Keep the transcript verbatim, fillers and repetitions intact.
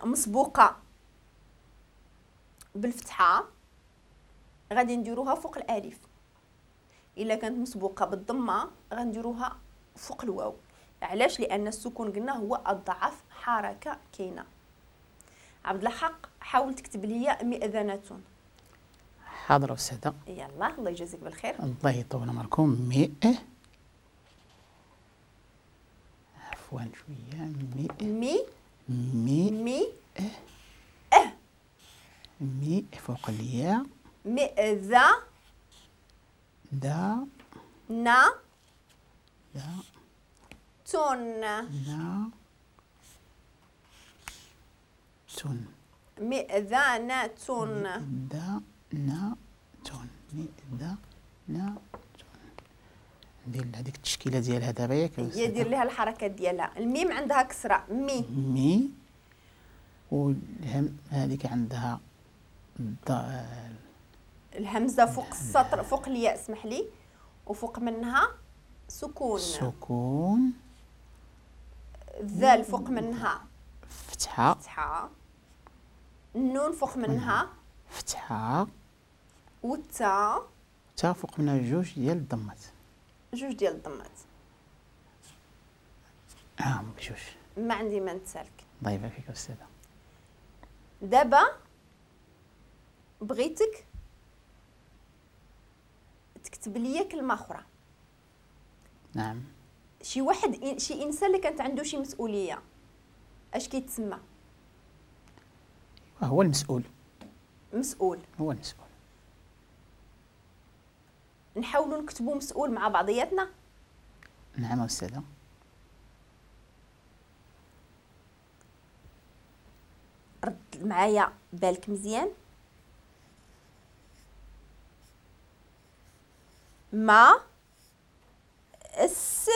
مسبوقة بالفتحة غادي نديروها فوق الالف، الا كانت مسبوقة بالضمه غنديروها فوق الواو. علاش؟ لان السكون قلنا هو اضعف حركة كاينه. عبد الحق حاول تكتب لي مئذنة. حاضر أستاذة. يلا الله يجازيك بالخير. الله يطول عمركم. مئ عفوا شوية مي مي مي مي اه مي فوق الياء مئذا دا نا دا تون نا تون مئذنة. دا نا تون مئذنة تون. ندير هذيك التشكيلة ديالها دابا ياك؟ هي دير لها الحركات ديالها. الميم عندها كسره مي مي، والهم هذيك عندها الهمزة فوق السطر فوق الياء اسمح لي، وفوق منها سكون سكون، الذال فوق منها فتحه فتحه، النون فوق منها فتحه، والتاء تا فوق منها جوج ديال الضمات جوج ديال الضمات. اه بجوج. ما عندي ما نتسالك. الله يبارك فيك أستاذة. دابا بغيتك تكتب لي كلمة أخرى. نعم. شي واحد شي إنسان اللي كانت عنده شي مسؤولية اش كيتسمى؟ هو المسؤول. مسؤول. هو المسؤول. نحاولوا نكتبوا مسؤول مع بعضياتنا. نعم أستاذة. رد معايا بالك مزيان. ما اس